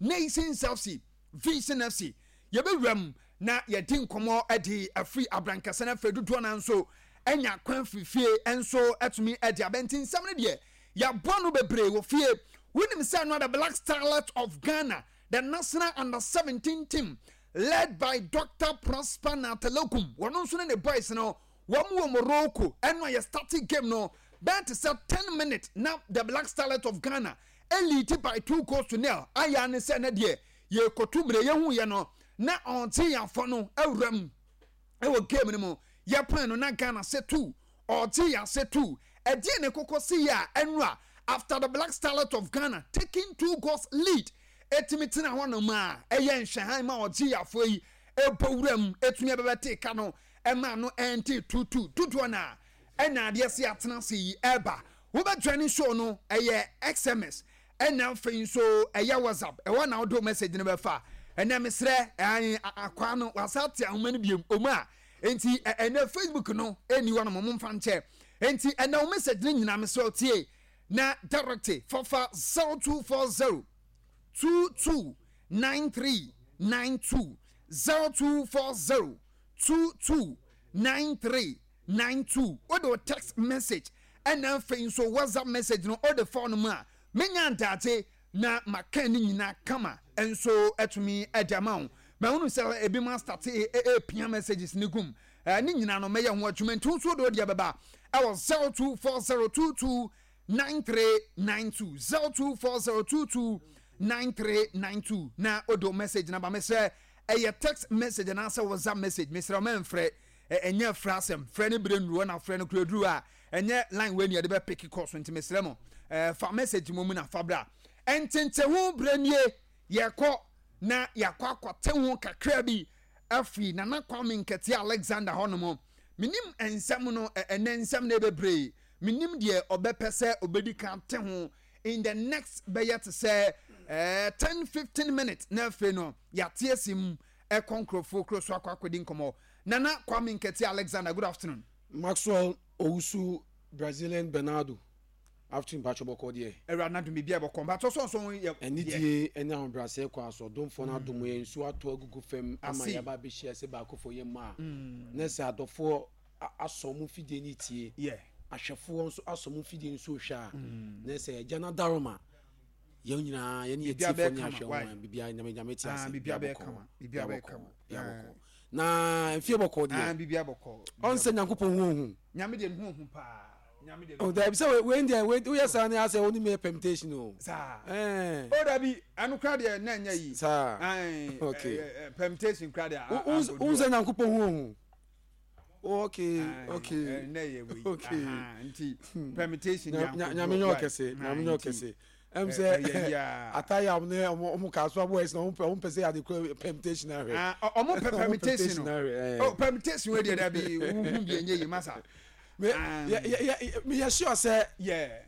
Nations FC, Vision FC, yɛbɛwura mu na yɛdi nkɔmmɔ de afiri abrankɛsɛ no afei dodoɔ no nso anya kwan firi fie nso atumi de abɛnti nsɛm no deɛ yɛaboa no bebree wɔ fie. Wonim sɛ no the Black Starlet of Ghana, the national under 17 team led by Dr. Prosper Natalokum, wɔn nso ne ne boys no wɔn wɔ Morocco ɛno a yɛ starting game no bɛn te sɛ 10 minutes na the Black Starlet of Ghana Elead by 2 goals to nil ayɛ ne sɛ ne deɛ yɛkɔtu mmerɛ yɛhu yɛ no na ɔnte yɛafɔ no awura mu ɛwɔ game no mu yɛpan no na Ghana sɛ 2 ɔgye yɛ ase 2 ɛdeɛ ne kɔkɔ si yɛ a ɛnura after the Black Starlet of Ghana taking 2 goals lead ɛtumi tena hɔ nom a ɛyɛ nhwɛhan ma ɔgye yɛafɔ yi ɛbɔ wura mu ɛtumi ɛbɛbɛte ka no ɛma no ɛnte 2-2 dodoɔ no a ɛna adeɛ se atena ase yi ɛba wobɛ join show no ɛyɛ xms ɛna afei nso ɛyɛ WhatsApp ɛwɔ na wode message no bɛfa ɛnɛ mesrɛ ɛn akwaa no wasa te ahoma no biem ɔmu a enti ɛnɛ Facebook no ɛni hɔ no mo mfa nkyɛ enti ɛnɛ wo message no nyinaa mesrɛ tie na direct fafa 0240 22 93 92 0240 22 93 92 wode wo text message ɛna afei nso WhatsApp message no wode fa no mu a menya ntaate na maka ne nyinaa kama nso atumi de ama wo. Mahunu sɛ ebi mu astate ɛpia messages ne gum ne nyinaa no mɛyɛ ho adwuma nti nso wode wodeɛ bɛba ɛwɔ 024022 9392 024022 9392 na wode message na ba. Mesrɛ ɛyɛ text message anaasɛ WhatsApp message, mesrɛ wo mɛmfrɛ, ɛnyɛ frɛ asɛm, frɛ no berɛ nnuru na frɛ no kura duru a ɛnyɛ line wei ne yɛde bɛpeke kɔ so nti mesrɛ mo fa message mu mu na fa bra. Ntenteho berɛ nie, yɛkɔ na yɛakɔ akɔte ho kakra bi afiri Nana Kwame Nkɛteɛ Alexander hɔ nom. Menim nsɛm no ɛnɛ nsɛm no ɛbebree, menim deɛ ɔbɛpɛ sɛ ɔbɛdi kan te ho in the next bɛyɛ te sɛ 10 15 minutes na afei no yɛate asi mu ɛkɔ nkurɔfoɔ kuro so akɔ akɔdi nkɔmmɔ. Nana Kwame Nkɛteɛ Alexander, good afternoon. Maxwell Owusu Brazilian Bernardo, afternoon. Mpatsɔ bɔkɔ deɛ. Awurade n'adom biribi a bɔkɔ mpatsɔ sɔnsɔn yɛ. Anidie ne ahobrɛaseɛ kɔ aso ɔdomfoɔ no adom yɛn nsuo atɔ agugu fam ama yɛaba abɛhyia sɛ baakofoɔ yɛ mma a na sɛ adɔfoɔ asɔ mo mfidie no tie, ahwɛfoɔ nso asɔ mo mfidie nso hwɛ a na sɛ agya no adaroma yɛn nyinaa yɛne yɛ tiefoɔ ne ahwɛ ho a biribiara Nyame Nyame te ase, biribiara bɔkɔ, biribiara bɔkɔ, biribiara bɔkɔ na mfie bɔkɔ deɛ biribiara bɔkɔ ɔnsɛ Nyankopɔn ho ohu. Nyame deɛ ne ho ohu paa. Nyame deɛ. Oh dabi sɛ wei deɛ wei woyɛ saa ne asɛ wo ne me yɛ permutation o. Saa. Ɛɛ. Oh dabi ɛno kora deɛ na ɛnyɛ yi. Saa. Okay. Permutation kora deɛ. Wo sɛ Nyankopɔn ho ohu. Okay okay. Ɛnɛ yɛ wei. Okay. Nti permutation deɛ ankɔ. Nyame nyɛ ɔkɛse. Nyame nyɛ ɔkɛse. Ɛm sɛ atayam ne ɔmo kaa so aboa ɛsɛ na ɔmo pɛ ɔmo pɛ sɛ yɛade kura permutation ahwɛ. Ɔmo pɛ permutation no. Oh permutation wei deɛ dabi wohu bi ɛnyɛ yi masa. Me yɛ sure sɛ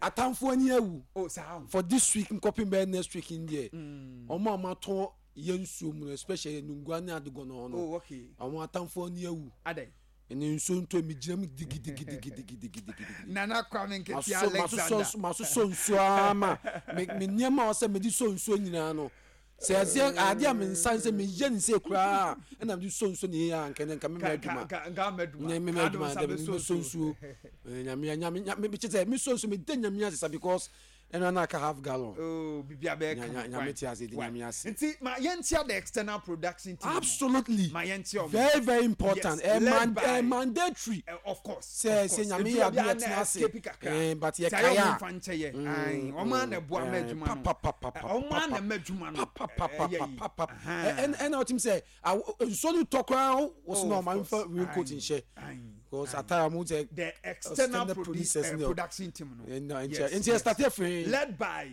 atamfoɔ ani awu. Oh saa. For this week nkɔpem bɛyɛ next week n deɛ ɔmo a ɔmo atɔ yɛ nsuo mu no, especially nungua ne adegɔnɔ no. Oh okay. Ɔmo atamfoɔ ani awu. Adɛn? Ɛne nsuo ntɔ mi gyina mu digidigidigidigidigidi. Nana Kwame Nketia Alexander. Masosɔ nsuo ara ma me me nneɛma a ɔsɛ mede sɔ nsuo nyinaa no sɛ ɛsɛ adeɛ a me nsa sɛ meyɛ ne sɛ koraa ɛna mede sɔ nsuo ne yɛ a nka nka mema adwuma nka mema adwuma dɛ mesɔ nsuo nyame nyame nyame kyɛ sɛ mesɔ nsuo meda nyame ase sa because ɛno na aka half gallon. Oh, bibi abɛyɛ kama. Nyame te ase, di nyame ase. Nti ma yɛntia the external production team. Absolutely. Ma yɛntia ɔmo. Very very important. Yes, led by, mandatory. Of course. Sɛ sɛ nyame yɛ adu yɛ tena ase. Eh, but yɛ kaya. Sɛ ɔmo nfa nkyɛ yɛ. Ɔmo ana ɛboa ma adwuma no. Ɔmo ana ma adwuma no. Ɛyɛ yi. Ɛna ɔtim sɛ nsuo no tɔ koraa wɔsi na ɔmo nfa raincoat nhyɛ. Because ataya ɔmo sɛ. The external producers production team no. Yes. Nti yɛ start afiri. Led by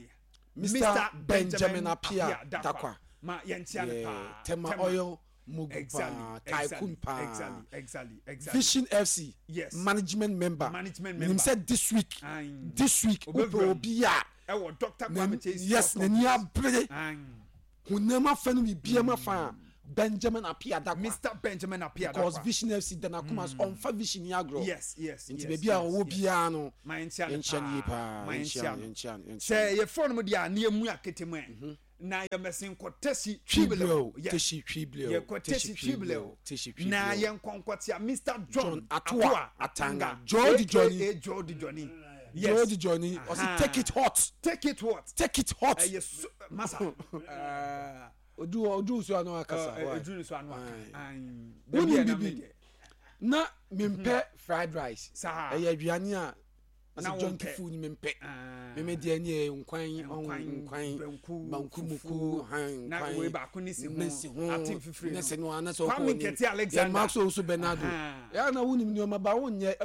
Mr. Benjamin Appiah Dakwa. Ma yɛn tia ne paa. Tema Oil Mugu paa, tycoon paa. Exactly. Vision FC. Yes. Management member. Management member. Nim sɛ this week. This week wopɛ obi a. Ɛwɔ Dr. Kwame Chase. Yes, n'ani abere. Honam afa no biribiara mu afa a Benjamin Appiah Dakwa. Mr. Benjamin Appiah Dakwa. Because Vision FC da n'akoma so ɔnfa Vision ni agorɔ. Yes. Nti baabi a ɔwɔ biara no. Ma yɛnkyia no paa. Yɛnkyia no yie paa. Yɛnkyia no yɛnkyia no yɛnkyia no. Sɛ yɛfrɛ no mu deɛ a ne yɛmu akete mu ɛ. Na yɛmɛsen kɔ Teshie Twibleo. Teshie Twibleo. Yɛkɔ Teshie Twibleo. Teshie Twibleo. Na yɛnkɔ nkɔtea Mr. John Atoa Atanga. George Johnny. AKA George Johnny. Yes. George Johnny. Ɔsi take it hot. Take it what? Take it hot. Ɛyɛ so masa. Odu odu so ano akasa. Odu so ano aka. Woni bibi. Na mempɛ fried rice. Ɛyɛ aduane a na wɔn pɛ food mi mpɛ mi mi deɛ ne yɛ nkwan nkwan banku muku han nkwan na wei baako ne si ho ne si ho ate nfifire ne si no ana sɛ ɔkɔ ne Nketi Alexander yɛ maa so nso Bernardo yɛ na wunim nneɛma ba wɔn nyɛ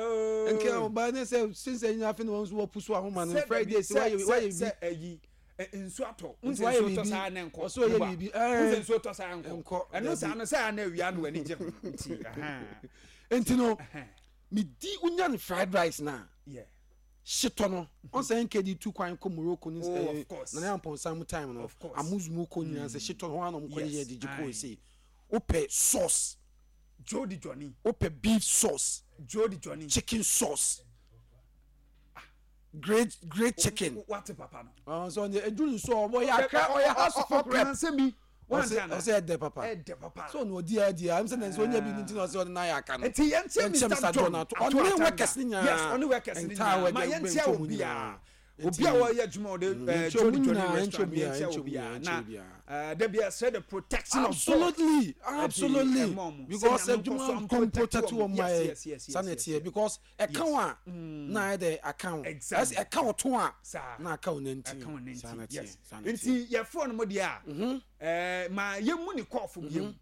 nke ɔbaa ne sɛ sinsɛ nyina afei na wɔn nso wɔpu so ahoma no Friday sɛ wayɛ wayɛ bi sɛ ɛyi nsu atɔ nti nsu wayɛ tɔ biribi saa na nkɔ ɔsɛ ɔyɛ biribi ɛɛ nsu nsuo tɔ saa nkɔ nkɔ ɛno saa no sɛ ana awia no w'ani gye ho nti nti no medi wonya no fried rice na hyetɔ no ɔn sɛ nkd tu kwan kɔ morocco ne oh, nana ampɔnsa mu time no amuzumu kɔ nyinaa sɛ hyetɔ no hɔ anam kɔ yɛ de gye kɔɔ sei wopɛ sauce jody johnny wopɛ beef sauce jody johnny chicken sauce great great chicken wate papa no ɔn sɛ ɔn eduru nso ɔbɔ yɛ akra ɔyɛ house of rep ɔkan bi ɔsɛ ɛdɛ papa ɛdɛ papa so ɔno ɔdi adi a ɛsɛ nɛsɛ ɔnya bi ne ti na ɔsɛ ɔde n'ayɛ aka no nti yɛn kyɛ Mr John Ato ɔne workers ne nyinaa yes ɔne workers ne nyinaa ma yɛn kyɛ obiara obi a wɔyɛ adwuma ɔde ɛɛ Jody Jody restaurant yɛn kyɛ obiara na ɛɛ dabi ɛsɛ the protection of God absolutely absolutely because adwuma nkɔm protect wɔn ma yɛ sanni ɛteɛ because ɛka wo a na ayɛ dɛ aka wo ɛsɛ ɛka wo to a na aka wo nanti saa na teɛ saa na teɛ nti yɛfoɔ no mo deɛ a mhm. ɛɛ ma yɛmu ne kɔɔfo mhm. biom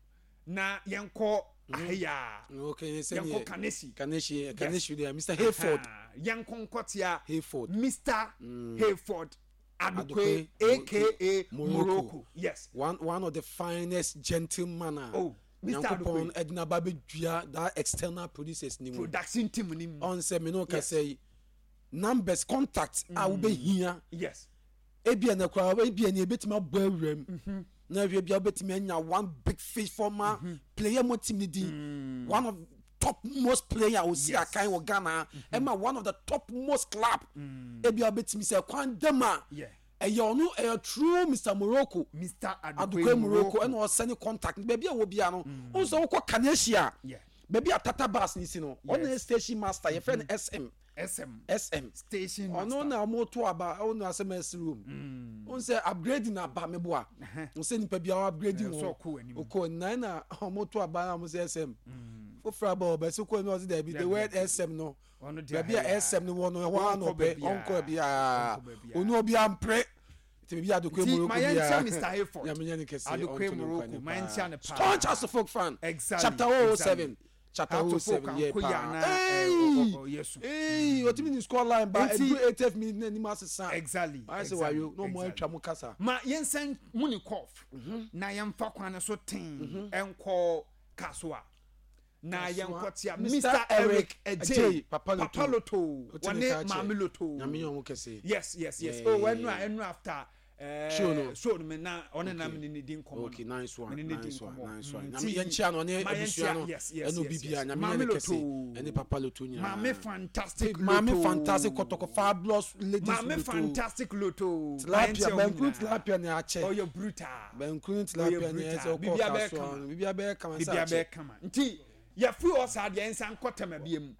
na yɛnkɔ mhm. aheya yɛnkɔ kanesi kanesi kanesi deɛ mr hayford yɛnkɔ nkɔtea hayford mr mm. hayford Adukwe aka Morocco yes one one of the finest gentleman a oh. Mister Nyankopɔn ɛde n'aba bɛdua that external producers ni mu. Production team ni mu. Ɔn sɛ me ne wo kasa yi numbers contact a wobɛhia. Yes. Ebia na koraa ebia ni ebetumi abɔ awura mu. Mm-hmm. Na ehwɛ bia wobɛtumi anya one big fish former mm-hmm. player mo team ni din. Mm. One of top most player osi yes. akan wɔ Ghana. Ɛma mm-hmm. one of the top most club. Mm. Ebia wobɛtumi sɛ kwan dɛm a. Yeah ɛyɛ ɔno ɛyɛ true Mr Morocco Mr Adukwe Morocco ɛna ɔsɛne contact baabi a wɔ bia no mm. ɔn sɛ wokɔ Kanesia baabi a Tata bus ne si no ɔno yɛ station master yɛfrɛ no SM SM SM station master ɔno na ɔmo to aba ɔno asɛm ɛsiri wɔm mm. ɔn sɛ upgrading aba meboa ɔn sɛ nipa bi a upgrading wɔ ɔkɔ nan na ɔmo to aba na ɔmo sɛ SM mm. foforɔ aba ɔbɛsi kɔ ɛna ɔsi dɛbi the word SM no baabi a ɛsɛm no wɔ no ɛhɔ ara na ɔpɛ ɔnkɔ biara ɔnu obiara mpere nti baabi a Adokoe Morocco biara Nyame nyɛ ne kɛse ɔnto ne nkwa ne paa staunch Asofok fan chapter 007 chapter 007 yɛ paa eii ɔtumi ne score line ba ɛduru 80th minute na anim asesa ayɛ sɛ wayo na ɔmo atwa mo kasa. Ma yɛnsan mu ne kɔf na yɛmfa kwan no so ten nkɔ Kasoa. na yɛnkɔtea Mr. Eric Adjei Papa Loto wɔne Maame Loto Nyame yɛ ɔmo kɛse yes yes yes oh ɛnu a ɛnu after eh, show no show no me na ɔne na me ne di nkɔmɔ okay nice one me ne di nice one nkɔmɔ nice one Nyame yɛn kyia no ɔne abusua no yes yes ɛne obi bia Nyame yɛ ne kɛse ɛne Papa Loto nyinaa Maame fantastic Loto Maame fantastic kɔtɔkɔ fabulous ladies Maame fantastic Loto tilapia banku tilapia ne akyɛ ɔyɛ brutal Banku ne tilapia ne ɛsɛ ɔkɔ kasoa no biribi abɛyɛ kama sɛ biribi abɛyɛ kama nti yɛfiri hɔ saa deɛ nsa nkɔ tɛma bie mu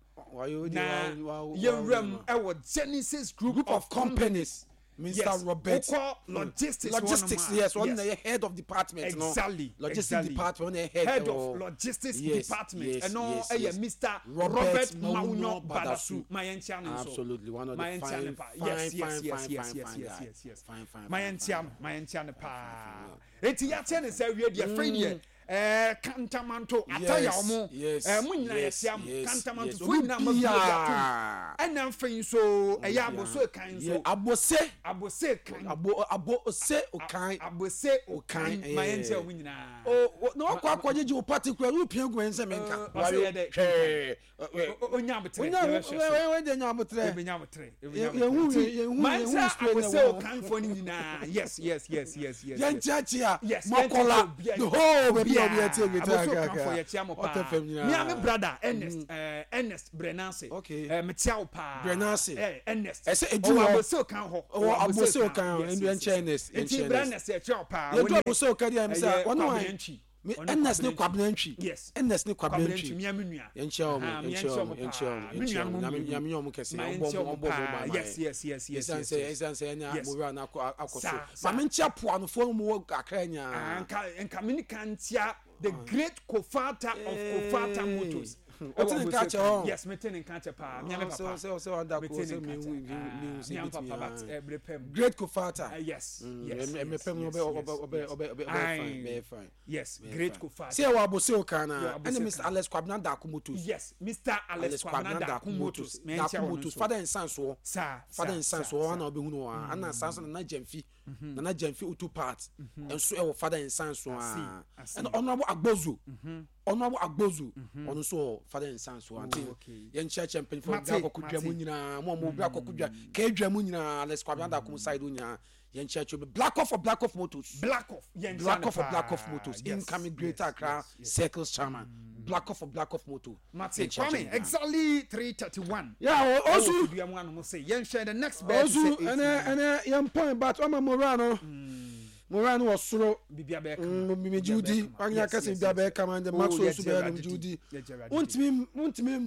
na yɛwura mu ɛwɔ Genesis Group, Group of Companies Mr. Yes. Robert wokɔ logistics logistics yes ɔno na yɛ head of department no exactly logistics exactly. department ɔno yɛ head head of logistics yes, department yes, ɛno yes, ɛyɛ yes. Mr. Robert Robert Mawunyo Mawunyo Badasu ma yɛn nkyia no nso absolutely one of ma the yɛn nkyia fine no pa fine yes yes fine yes fine yes fine yes fine yes guy yes yes fine fine ma fine yɛn nkyia fine no ma yɛn nkyia no paa eti yɛakyɛ ne sɛ awie deɛ fɛn deɛ ɛɛ kantamanto ataya ɔmo ɛɛ mo nyinaa yɛkyia mo kantamanto fo nyinaa ma bi atum ɛna afei nso ɛyɛ aboso kan nso abose abose kan abo abose okan abose okan ma yɛn nkyia ɔmo nyinaa o na wakɔ akɔgyegye wo party kura wo pia gu yɛn sɛ menka ɔsɛ yɛ dɛ hwɛɛ onya abotrɛ onya wɔde nya abotrɛ yɛbɛnya abotrɛ yɛhu yɛhu mankyerɛ yɛhu spray na abose wɔ okanfoɔ no nyinaa yes yes yes yes yes yɛn kyiakyia Yes, mɔkɔla yɛn the whole baabi a obi atie Greater Abossey Accra Okanfo yɛkyia mo Hot paa. FM nyinaa. Me a me brother Ernest eh, Ernest Brenase. Okay. Eh, mekyia wo paa. Brenase. Eh, Ernest. Ɛsɛ edu Ɔwɔ hɔ. Abossey Okan hɔ. Ɔwɔ Abossey Okan hɔ. Yes, Ɛndu yes, ɛnkyɛ yes. Ernest, Nti ɛnkyɛ Bra Ernest. Ernest yɛkyia wo paa. Yɛdu Wo ne Abossey Okan deɛ ɛm sɛ ɛyɛ wɔne Kwabena wan? Ntwi. Me Ɔne Ernest ne Kwabena Kwabena Ntwi. Yes. Ernest ne Kwabena Kwabena Ntwi. Ntwi, mea me nua. Yɛnkyia wɔn, Aha, yɛnkyia yɛnkyia wɔn, wɔn yɛnkyia wɔn, paa. Me yɛnkyia nuanom wɔn. Nyame mmienu. Nyame nyɛ wɔn kɛse. Ma Ɔmbɔ yɛnkyia wɔn wɔn ɔmbɔ wɔn paa. ban ma Yes, yɛn. yes, yes, yes, Ɛsiane yes, sɛ yes. ɛsiane sɛ ɛne Yes. mowura no akɔ akɔ so. Saa, saa. Ma menkyia poanofoɔ no mu wɔ Accra Ah, nyinaa. nka nka me ne ka ntia the great Kofata of Kofata Motors. Wote ne nka kyɛ hɔ? Yes, mete ne nka kyɛ paa. Mea me Sɛ papa. sɛ sɛ wada ko Mete ne sɛ nka mehu kyɛ. mehu Ah, sɛ mea me ebetumi papa but ah. eh, bere pɛ mu. Great Kofata. Ah, yes, yes, Mm, yes, mepɛ mu yes, ɔbɛ ɔbɛ yes, ɔbɛ yes. ɔbɛ ɔbɛ Aye. fine bɛyɛ fine. Yes, Bɛyɛ great fine. Kofata. Sɛ ɛwɔ Abossey Okan Yɛ na Abossey ɛne Mr Okan. Alex Kwabena Darko Motors. Yes, Mr. Alex Alex Kwabena Kwabena Darko Darko Motors. Motors. Menkyia Darko wɔn Motors. nso. Father and son soɔ. Saa, Father saa, and son saa, soɔ saa. na ɔbɛhu no wɔ ha. Ɛna saa nso Nana Gyamfi. Nana Gyamfi Auto Parts. Nso ɛwɔ Father and son so I see, a. I see. Ɛna Honourable Agbozo. Honourable Agbozo. Ɔno nso wɔ Father and son so. Nti okay. yɛnkyerɛkyerɛ mpanyinfoɔ Mate, bra kɔkɔ dwa mu mate. nyinaa. Mo a mo bra kɔkɔ dwa kɛɛ mu nyinaa. Alex Kwabena Darko mu side nyinaa. Yɛnkyerɛkyerɛ bi. Black Off for Black Off Motors. Black Off. Yɛnkyia Black no Off for Black paa. Off Motors. Yes, Incoming Greater yes, Accra yes, yes. Circles Chairman. Black Off for Black Off Motor. Mate, Yɛnkyerɛkyerɛ Kwame, nyinaa. exactly 3:31. Yeah, Ɛwɔ Osu. fidua mu anom sɛ yɛnhwɛ the next bed Osu sɛ eight ɛnɛ ɛnɛ yɛn point but ɔma Mora no. Mora no wɔ soro. Biribi abɛyɛ kama. Megye wo di. Wanya kɛse biribi abɛyɛ kama ndɛ Maxwell nso bɛyɛ no megye wo di. Wontumi wontumi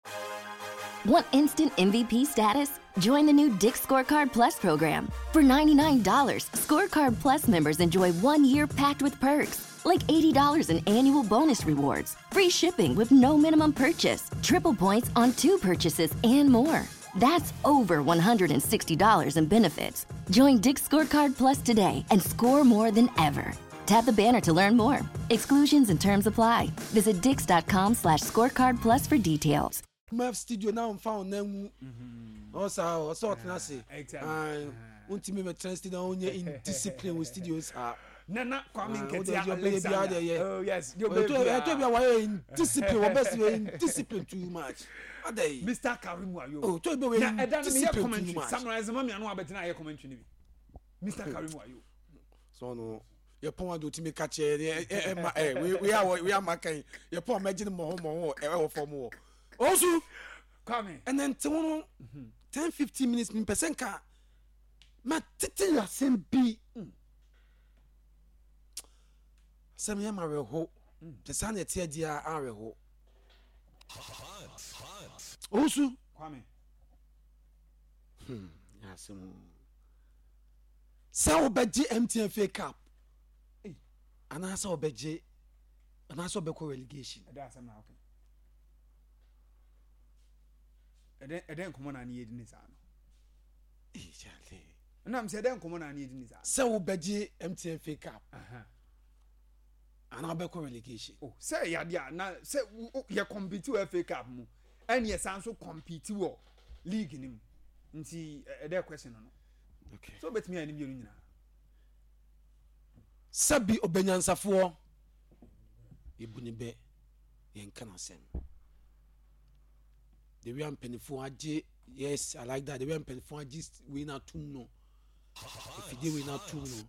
Want instant MVP status? Join the new Dick's Scorecard Plus program. For $99, Scorecard Plus members enjoy 1 year packed with perks, like $80 in annual bonus rewards, free shipping with no minimum purchase, triple points on two purchases, and more. That's over $160 in benefits. Join Dick's Scorecard Plus today and score more than ever. Tap the banner to learn more. Exclusions and terms apply. Visit dicks.com/scorecard plus for details. Maf studio na ɔmfa wo nan ngu ɔsaa ɔsɛ ɔtena ase. Exactly. Ae, wontumi mɛtena studio na wonyɛ indiscipline wɔ studio saa. Nana Kwame Ah, Nketia wode deɛ ɔbɛyɛ biara Alexander. deɛ yɛ. Oh yes, deɛ ɔbɛyɛ ɛtɔ biara. bi a wɔyɛ indiscipline wɔ bɛsi wɔ indiscipline too much adai. Mr. Karim Wayo. Oh, tɔ bi a wɔyɛ Na ɛda no meyɛ indiscipline too commentary. much. Samurai Zama mi ano abɛtena ayɛ commentary ni bi. Mr. Karim Wayo. So no yɛpɔn ade otumi ka kyerɛ ne ɛma ɛ wei wei a wɔ wei ama kan yɛpɔn a mɛgye ne mmɔho mmɔho ɛwɔ fam wɔ ɔnso Kwame. Ɛnɛ nte ho no 10 15 minutes mi mpɛ sɛ nka ma tete asɛm bi asɛm yɛ ma awerɛho sɛ saa na ɛte adi a awerɛho ɔnso. Kwame. Yɛ asɛm o. Sɛ wobɛgye MTN FA Cup Ei. anaasɛ wobɛgye anaasɛ wobɛkɔ relegation. Ɛda asɛm na okay. Ɛdɛn ɛdɛn nkɔmɔ na ne yɛ di ne saa no. Eh, Charlie. Ɛnam sɛ ɛdɛn nkɔmɔ na ne yɛ di ne saa no. Sɛ wobɛgye MTN FA Cup anaa wobɛkɔ relegation. Oh, sɛ yade a na sɛ yɛ compete wɔ FA Cup mu ɛne yɛ san so compete wɔ league ni mu nti ɛdɛ question no. So wobɛtumi ayɛ ne mmienu nyinaa. Sɛbi ɔbɛnyansafoɔ yɛbu ne bɛ yɛnka n'asɛm the way a mpanimfoɔ agye. Yes, I like that. The way a mpanimfoɔ agye wei no atom no, afidie wei no atom no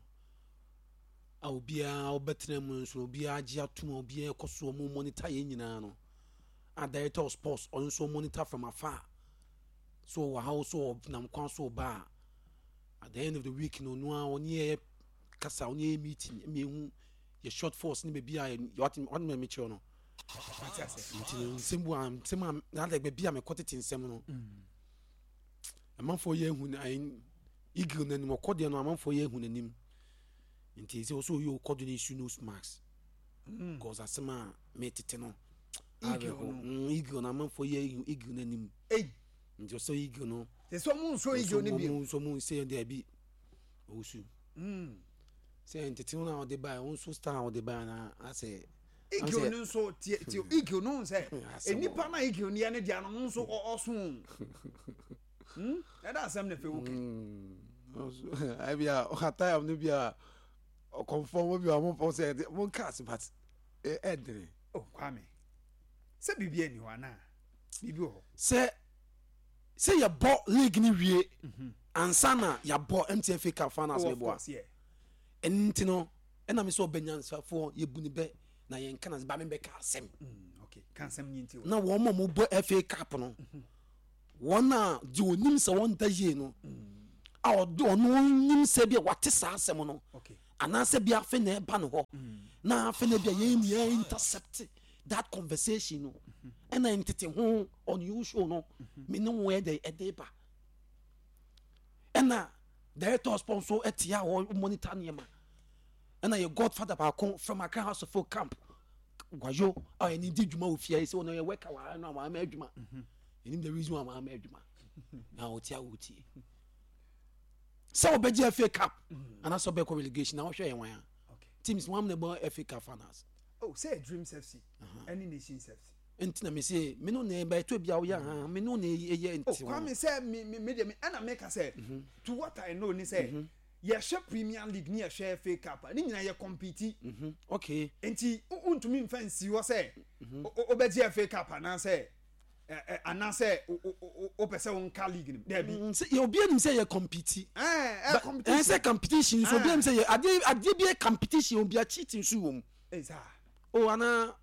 a obiara ɔbɛtena mu nso obiara agye atom a obiara kɔ so ɔmo monitor yɛn nyinaa no a director of sports ɔno nso monitor from afar so ɔwɔ ha so ɔnam kwan so ɔba a at the end of the week no ɔno a ɔne yɛ kasa ɔne yɛ meeting ɛma ehu yɛ short force ne baabi a yɛ ɔte ɔte mɛ mekyerɛ no. Ate ase. Nti no nsɛm bu a nsɛm a na adɛ baabi a mekɔ tete nsɛm no amanfoɔ yɛ ehu na ayi eagle n'anim ɔkɔ deɛ no amanfoɔ yɛ ehu n'anim nti sɛ ɔsɛ ɔyɛ ɔkɔ do no issue nose mask cause asɛm a metete no Eagle awerɛho no. Eagle no amanfoɔ yɛ ehu eagle n'anim Ei. nti ɔsɛ eagle no Sɛ sɛ ɔmo nso eagle no bio. ɔmo nso ɔmo nsɛ yɛn dɛbi ɔwusu sɛ ntete no na ɔde ba ɔmo nso star a ɔde ba na asɛ Eagle no nso tie tie eagle no sɛ Asɛm nipa na eagle no yɛ ne deɛ no ɔno nso ɔso. Ɛda asɛm na fɛ wo kɛ. Ɛbi a ɔhatayam no bi a ɔkɔnfɔm mo bi a ɔmo fɔm sɛ ɛde mo nka ase but ɛdene. Oh Kwame, sɛ biribi ani hɔ anaa biribi wɔ hɔ. Sɛ yɛbɔ league ni wie ansa na yɛabɔ MTN FA Cup finals Oh, ne of boa. course, yeah. Ɛno nti no ɛna mi sɛ ɔbɛnyansafoɔ yɛbu ne bɛ. Na yɛn ka na ba mi bɛ ka asɛm. Okay, ka asɛm ni nti. Na wɔn a wɔbɔ FA Cup no, wɔn a deɛ onim sɛ wɔn da yie no, a ɔde ɔno nim sɛ bi a wate saa asɛm no, anaasɛ bi afe na ɛba no hɔ, na afe na bi a yɛn yɛn intercept that conversation no, ɛna ntete ho on you show no, me ne wɔn ɛde ɛde ba, ɛna director of sponsor ɛte a wɔ monitor nneɛma. Ɛna yɛ godfather baako from Accra House of Folk camp wayo a ɛne di dwuma wɔ fie sɛ ɔno yɛ worker wɔ ha no a wama adwuma ɛnim the reason why wama adwuma na ɔte a wɔtie sɛ wɔbɛgye FA Cup anaasɛ wɔbɛkɔ relegation na wɔhwɛ yɛn wan a teams wɔn amena bɔ FA Cup finals. Oh, sɛ Dreams FC ɛne Nations FC. Nti na me se me no na ɛbɛ to bi a woyɛ ha me no na ɛyɛ nti. Oh, Kwame sɛ me me me deɛ me ɛna meka sɛ to what I know ni sɛ. Yɛhwɛ Premier League ne yɛhwɛ FA Cup a, ne nyinaa yɛ compete. Mhm, okay. Nti wontumi mfa nsi hɔ sɛ mhm. wobɛgye FA Cup anaasɛ anaasɛ wopɛ sɛ wonka league no daabi. Mm, sɛ obi anim sɛ yɛ compete. Ɛɛ competition. Ɛɛ sɛ competition nso obi anim sɛ yɛ adeɛ adeɛ bi yɛ competition obi a cheating nso wɔ mu. Ɛsa. O ana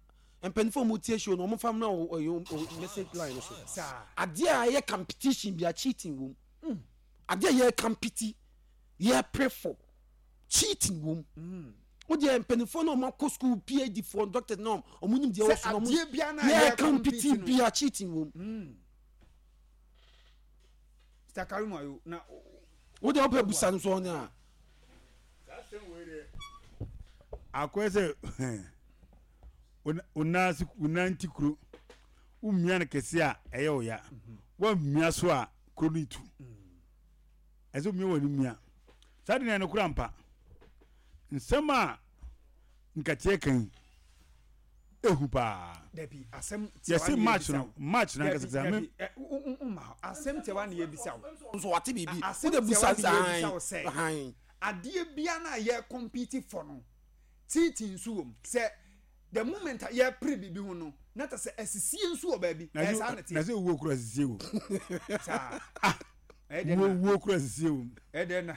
mpanyinfoɔ a wɔn tie show no wɔn fa mmerɛ wɔ ɛyɛ message line no so. Saa. Adeɛ a ɛyɛ competition bi a cheating wɔ mu. Mm. Adeɛ a yɛ compete yɛ pray for cheating wom. Mm. Wo deɛ mpanimfoɔ na wɔn akɔ school PhD foɔ doctors na wɔn nim deɛ wɔ so na wɔn yɛ compete bia cheating wom. Mm. Mr. Karim ayo na. Wo deɛ wopɛ busa no so ɔnyɛ a. Akɔyɛ sɛ wo nan ti kuro womia no kɛse a ɛyɛ wo ya woammia so a kuro no tu ɛsɛ omia wɔ ne mia saa de na ɛno kora mpa nsɛm a nkateɛ kan ehu paa dabi asɛm yɛse match no match na nkasa sɛ me asɛm tiawa na yɛbisa wo nso wate biribi wode busa sɛ adeɛ bia no a yɛ compete for no Teething nso wɔ mu. Sɛ the moment a yɛpere biribi ho no, na kyerɛ sɛ asisie nso wɔ baabi. Ɛyɛ saa na ɛteɛ. Na sɛ owuo kura asisie wɔ mu. Saa. Ah. Ɛyɛ dɛ na. Owuo kura asisie wɔ mu. Ɛyɛ dɛ na.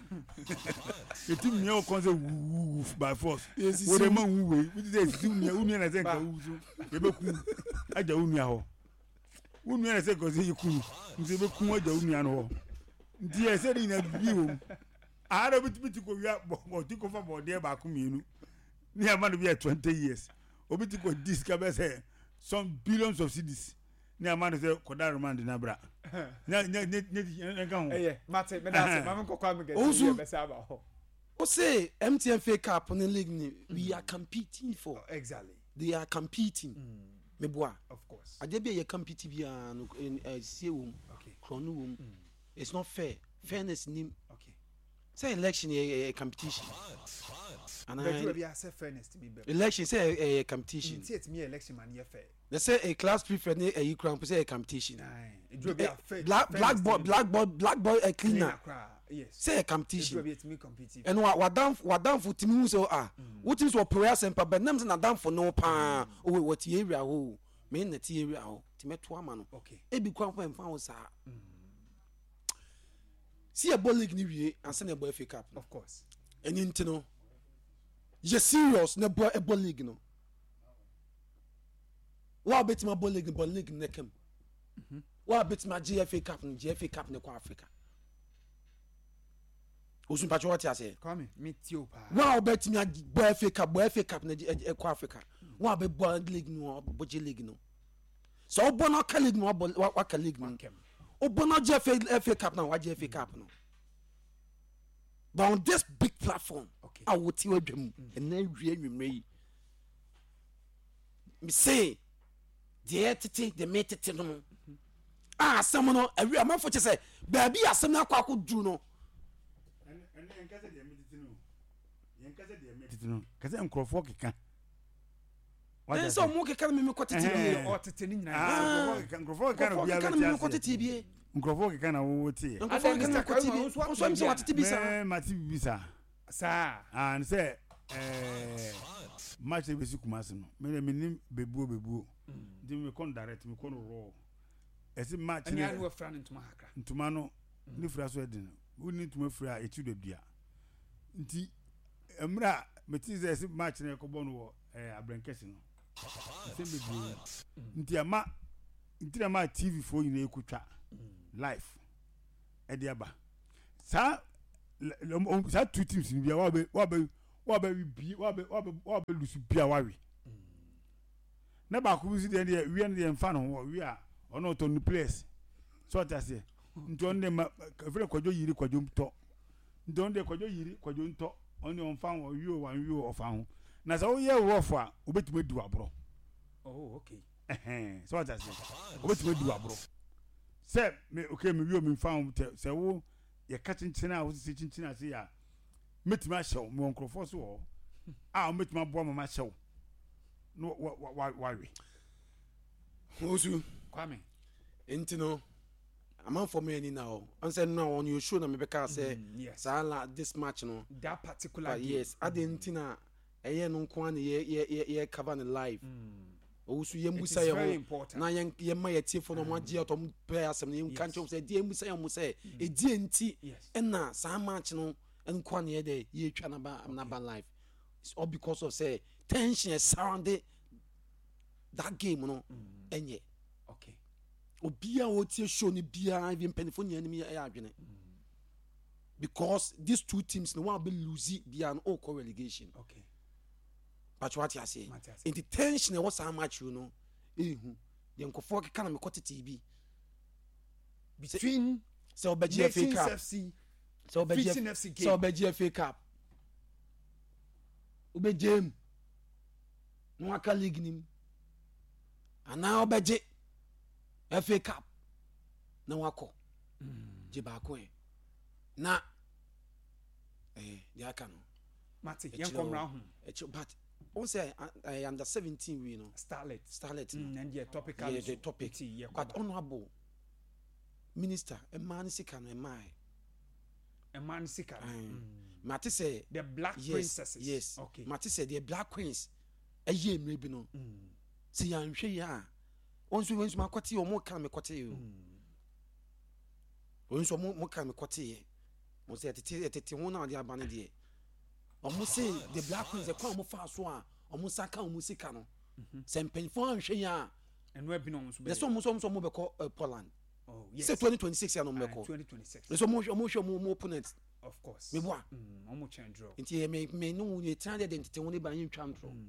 Eti mmea wɔ kɔn sɛ wuwu by force. Wo de ma wu wei. Wo ti sɛ esisi nua wo nua na sɛ nka wu so. Yɛbɛku agya wo nua hɔ. Wo nua na sɛ nka sɛ yɛku no. Nti yɛbɛku agya wo nua no hɔ. Nti ɛsɛ de nyina bibi wɔ mu. Aha na obi tumi ti kɔ wia bɔ ɔti kɔ fa bɔɔdeɛ baako mmienu ne ama no bi yɛ 20 years. Obi ti kɔ di sika bɛ sɛ some billions of cedis ne ama no sɛ kɔda remand na bra. Nya nya nya nya nya nka ho. Ɛyɛ mate meda ase maame nkɔkɔ ame gɛsi yɛ bɛsɛ aba hɔ. O se MTN FA Cup ne league ni we are competing for. Exactly. They are competing. Meboa. Of course. Adeɛ bi a yɛ compete biara no ɛsie wɔ mu. Korɔ no wɔ mu. It's not fair. Fairness nim. Okay. Sɛ election yɛ yɛ competition. Ana Bɛduru bi asɛ fairness ti mi bɛ. Election sɛ ɛyɛ competition. Nti etimi yɛ election ma no yɛ fair. Na sɛ a class prefect ne ɛyi kura mpo sɛ ɛyɛ competition. Eduru bi a fair. Black blackboard blackboard blackboard ɛ cleaner. Yes. Sɛ ɛyɛ competition. Eduru bi etimi compete. Ɛno wa wadanfo wadanfo timi hu sɛ ah wotimi sɛ ɔpere asɛm pa bɛ nam sɛ n'adanfo ne wo paa owe wɔte area hɔ o me na te area hɔ ti mɛto ama no. Okay. Ebi kura mpo ɛnfa ho saa. Si yɛbɔ league ni wie ansa na yɛbɔ FA Cup no. Of course. Ɛni nti no yɛ serious na ɛbɔ ɛbɔ league no. Wa obetumi abɔ league no bɔ league no kam. Mhm. Wa obetumi agye FA Cup no gye FA Cup no kɔ Africa. Osun patro wɔte aseɛ. Kwame mi ti o paa. Wa obetumi abɔ FA Cup bɔ FA Cup no ɛkɔ Africa. Wa bɛbɔ league no bɔ gye league no. Sɛ ɔbɔ na ɔka league no wabɔ waka league no. Ɔbɔ na ɔgye FA FA Cup na wagye FA Cup no. But on this big platform a wote wadwa mu ɛnna awie anwummerɛ yi. Mese deɛ tete deɛ metete no no a asɛm no awie amanfo kyɛ sɛ baabi asɛm no akɔ akɔduru no. Ɛnna yɛn kasa deɛ metete no yɛn kasa deɛ metete no kasa nkurɔfoɔ keka. Ɛn sɛ ɔmo keka no mimi kɔ tete bie. Ɔtete ne nyinaa. Nkurɔfoɔ keka na obiara bɛ te aseɛ. Tete bie. Nkurɔfoɔ keka na wowo te yɛ. Nkurɔfoɔ keka na kɔ te bie. Nso ɛmi sɛ watete bi saa. Mɛ mate bibi saa. Saa. Ah n sɛ ɛɛ match bɛ si Kumasi no mɛ de mi ni bebuo bebuo. Nti mi kɔ no direct mi kɔ no raw. Ɛsi match ne. Ɛni anu efra ne ntoma kakra. Ntoma no ne fira so ɛdi no. Wo ni ntoma fira a eti do dua. Nti mmerɛ a. Mete sɛ ɛsɛ match na yɛkɔbɔ no wɔ ɛɛ Abrɛnkɛse no. Nsɛm bebree. Nti ama nti na ma TV foɔ nyinaa ekotwa live ɛde aba. Saa saa two teams no bia wabɛ wabɛ wabɛ bi wabɛ wabɛ wabɛ lusu bia wawe. Na baako bi nso deɛ deɛ wia no deɛ nfa ne ho ɔwe a ɔno ɔtɔ no players. So ɔte aseɛ. Nti ɔno deɛ ma efirɛ kwadwo yiri kwadwo tɔ. Nti ɔno deɛ kwadwo yiri kwadwo ntɔ ɔno deɛ ɔnfa ho ɔwe o wanwe o ɔfa ho. Na sɛ woyɛ rough a wobɛtumi adi w'aborɔ. Oh okay. Ɛhɛn sɛ wate aseɛ wobɛtumi adi w'aborɔ. Sɛ me okay me wie o memfa ho tɛ sɛ wo yɛka kyenkyen a wosisi kyenkyen ase yɛ a mɛtumi ahyɛ wo mewɔ nkurɔfoɔ so wɔ hɔ a wɔbɛtumi aboa ma mahyɛ wo na wawe. Osu. Kwame. Nti no amanfoɔ mo ani na hɔ ɔn sɛ no a on your show na mebɛka sɛ mm, saa la this match no that particular game yes mm. adeɛ nti na ɛyɛ no nko ara na yɛ yɛ yɛ yɛ cover no live mm. owusu yɛn busa yɛn ho na yɛn yɛn ma yɛ tiefo na wɔn agye atɔ wɔn pɛ asɛm no yɛn nka nkyɛn sɛ ɛdeɛ yɛn busa yɛn ho sɛ ɛdeɛ nti ɛna saa match no nko ara na yɛ dɛ yɛtwa naba naba live. It's all because of sɛ tension surround that game no mm. ɛnyɛ. Okay. Obiara a ɔtie show no biara even mpanyinfoɔ nyinaa anim yɛ adwene. Mm. Because these two teams no one bɛ lose biara no ɔkɔ relegation. Okay. Patro ate aseɛ. Nti tension ɛwɔ saa match no ehu. Deɛ nkɔfoɔ keka na mekɔ tete bi. Between sɛ ɔbɛgye FA Cup. Sɛ ɔbɛgye sɛ ɔbɛgye FA Cup. Wobɛgye mu na waka league nim anaa wobɛgye FA Cup na wakɔ mm. gye baako ɛ na eh, deɛ aka no mate yɛnkɔ mmra ho ɛkyɛ but wɔn sɛ ɛyɛ under 17 wei no starlet starlet no mm, ɛndeɛ topical yɛ the topic but honourable minister ɛmaa ne sika no ɛmaa ɛ Ɛmaa no sika no. Mm. Mate sɛ. The black yes, princesses. Yes. Okay. Mate sɛ the black queens ɛyɛ mmerɛ bi no. Mm. Sɛ yɛanhwɛ yɛ a wɔn nso wɔn nso makɔte wɔn ka me kɔte o. Mm. Wɔn nso wɔn ka me kɔte yɛ. Wɔn sɛ ɛtete ɛtete ho na ɔde aba no deɛ. Wɔn se the black queens ɛkwan wɔn fa so a wɔn nsa ka wɔn sika no. Mhm. Sɛ mpanyinfoɔ anhwɛ yɛ a. Ɛno ɛbi na wɔn nso bɛyɛ. Yɛ sɛ wɔn nso wɔn nso wɔn bɛkɔ eh, Poland. Oh, yes. Sɛ 2026 ya no mbɛkɔ. 2026. Nso mo hwɛ mo hwɛ mo mo opponent. Of course. Me boa. Mm, omo twɛn draw. Nti yɛ me me no yɛ tena de de ntete ho ne ba yɛn twa ntorɔ. Mm.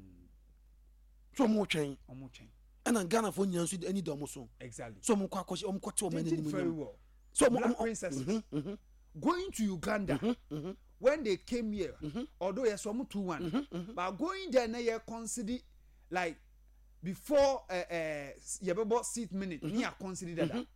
So ɔmo twɛn. Ɔmo twɛn. Ɛna Ghana fo nyinaa nso ani da ɔmo so. Exactly. So ɔmo kɔ akɔhyɛ ɔmo kɔte ɔmo They anim did very well. So ɔmo Black ɔmo princesses. Mm -hmm. Going to Uganda. Mm -hmm. When they came here, mm -hmm. although yes, ɔmo 2-1, mm -hmm. but going there na yɛ consider like before uh, uh, yɛbɛbɔ seat minute mm -hmm. ne yɛ consider dada. Mm -hmm.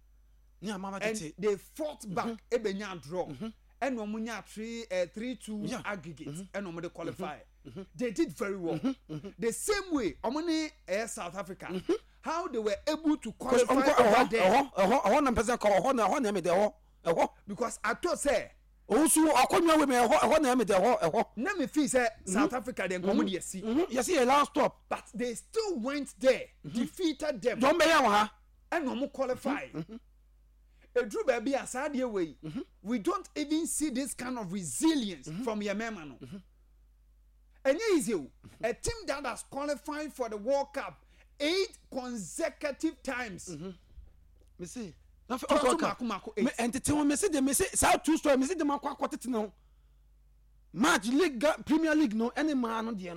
Ne ama and they fought back mm -hmm. ebenya draw ɛna mm -hmm. wɔn nya three uh, 3-2 yeah. aggregate ɛna mm -hmm. wɔn de qualify mm -hmm. they did very well mm -hmm. the same way wɔn ne uh, South Africa mm -hmm. how they were able to qualify over there ɛhɔ ɛhɔ ɛhɔ na mpɛsɛ kɔ ɛhɔ na ɛhɔ na ɛmi dɛ ɛhɔ ɛhɔ because ato sɛ owusu akɔnwa wei mi ɛhɔ ɛhɔ na ɛmi dɛ ɛhɔ ɛhɔ na mi fi sɛ South Africa deɛ nkɔmɔ de yɛsi yɛsi yɛ last stop but they still went there mm -hmm. defeated them jɔn bɛ yɛ wɔ ha ɛna wɔn qualify eduru baabi a saa adeɛ wei we don't even see this kind of resilience mm -hmm. from yɛn mmarima no ɛnyɛ easy o a team that has qualified for the World Cup eight consecutive times. Mm -hmm. mese tɔso mako mako eight. ɛntete ho mese de mese saa two story mese de ma akɔ akɔ tete ne ho match league Premier League no ɛne maa no deɛ no.